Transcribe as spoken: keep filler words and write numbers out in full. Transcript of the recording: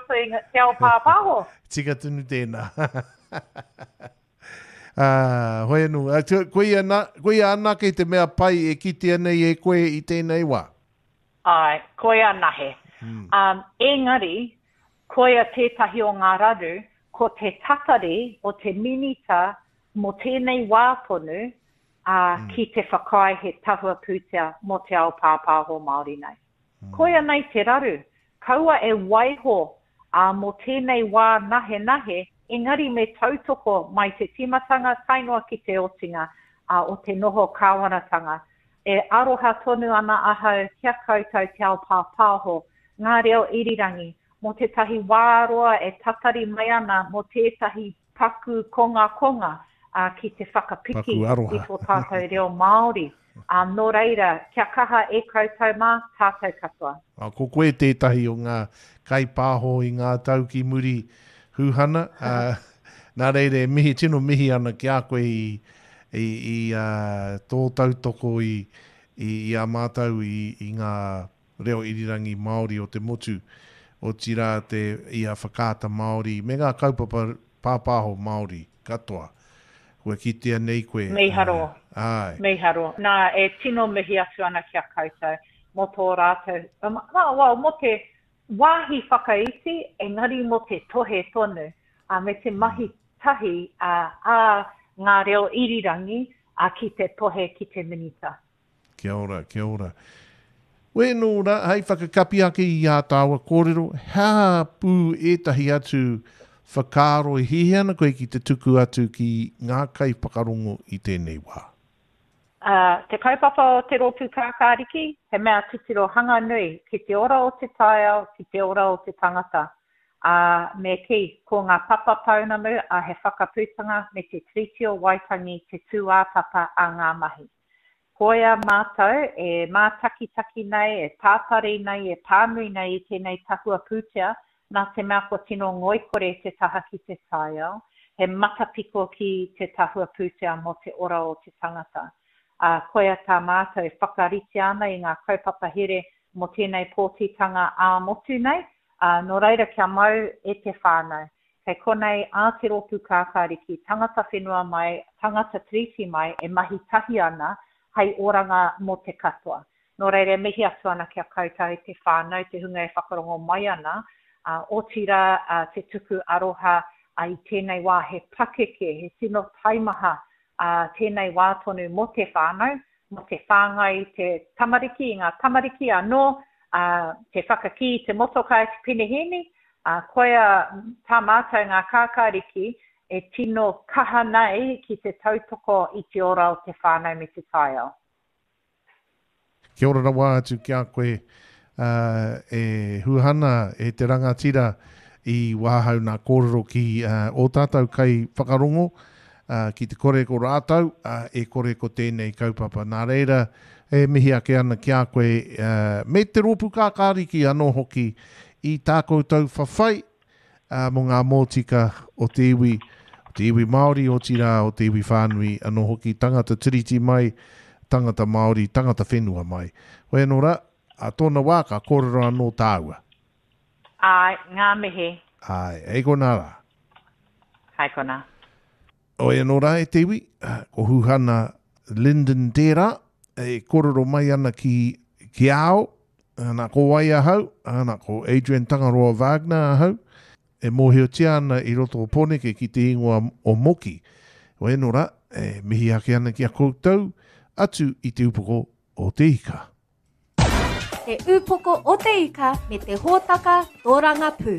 roto i te ao pāpāho. Tika tonu tēnā. Uh, hoi anō, koia, na, koia anake te mea pai e kitea nei e koe i tēnei wā? Ai, koia nahe. Hmm. Um, engari, koia tētahi o ngā raru, ko te tatari o te minita mō tēnei wā tonu uh, mm. ki te whakaae he tahua pūtea mō te ao pāpāho Māori nei. Mm. Koia nei te raru. Kaua e waiho uh, mō tēnei wā nahe nahe, engari me tautoko mai te tīmatanga tae noa ki te otinga uh, o te noho kāwanatanga. E aroha tonu ana ahau kia koutou te ao pāpāho, ngā reo irirangi, mō tētahi wā roa e tatari mai ana mō tētahi paku konga konga uh, ki te whakapiki i tō tātou reo Māori. Um, nō reira, kia kaha e koutou mā, tātou katoa. A, ko koe tētahi o ngā kaipāho i ngā tau ki muri Huhana. Uh, nā reira, e mihi, tino mihi ana ki a koe i, i, i uh, tō tautoko i, i, i a mātou i, i ngā reo irirangi Māori o te motu, otirā te i a Whakaata Māori, me ngā kaupapa pāpāho Māori katoa. Kua kitea nei koe. Miharo. Uh, ai. Miharo. Nā, e tino mihi atu ana ki a koutou mō tō rātou. Um, well, mō te wāhi whakaiti, engari mō te tohe tonu, uh, me te mahi tahi uh, a ngā reo irirangi uh, ki te tohe ki te minita. Kia ora, kia ora. Wēnō rā, hei whakakapi ake i ā tāua kōrero, hea pū ētahi atu whakaaro e hiahia ana koe ki te tuku atu ki ngā kaiwhakarongo i tēnei wā? Uh, te kaupapa o te rōpū kākāriki, he mea titiro hanga nui ki te ora o te taiao, ki te ora o te tangata. Uh, me kī, ko ngā papa pounamu a he whakaputanga me te Tiriti o Waitangi te tūāpapa a ngā mahi. Koia mātou e mātakitaki nei, e tātari nei, e pānui nei i tēnei tahua pūtea, nā te mea kua tino ngoikore te taha ki te taiao, he matapiko ki te tahua pūtea mō te ora o te tangata. Uh, koia tā mātou whakarite ana i ngā kaupapa here mō tēnei pōtitanga ā-motu nei, uh, nō reira kia mau e te whānau. Kei konei a te rōpū kākāriki, tangata whenua mai, tangata tiriti mai, e mahi tahi ana hei oranga mō te katoa. Nō reira, mihi atu ana kia koutou te whānau, te hunga e whakarongo mai ana, uh, otirā uh, te tuku aroha uh, i tēnei wā he pakeke, he tino taimaha uh, tēnei wā tonu mō te whānau, mō te whāngai te tamariki, i ngā tamariki anō, uh, te whakakī, te motokai, te penehēni, uh, koia tā mātou ngā kākāriki e tino kaha nei ki te tautoko i te ora o te whānau me te taiao. Kia ora rawa atu ki a koe uh, e Huhana, e te rangatira i wāhau nā kōrero ki uh, o tātou kai whakarongo, uh, ki te kore ko rātou, uh, e kore ko tēnei kaupapa. Nā reira, e mihi ake ana ki a koe, uh, me te rōpū kākāriki anō hoki i tā koutou whawhai uh, mō ngā mōtika o te iwi, o te iwi Māori, otirā o te iwi whānui, anō hoki tangata tiriti mai, tangata Māori, tangata whenua mai. Hoi anō rā, a tōna wā ka kōrero anō tāua. Ai, ngā mihi. Ai, hei konā rā. Hei konā. Hoi anō rā e te iwi, ko Huhana Lyndon tērā, e kōrero mai ana ki, ki ao, ana ko wai ahau, ana ko Adrian Tangaroa Wagner ahau, e mōhiotia ana i roto o Pōneke ki te ingoa o Moki. Hoi anō rā, e mihi ake ana ki a koutou, atu i te upoko o te ika. Te upoko o te ika me te hōtaka tōrangapū.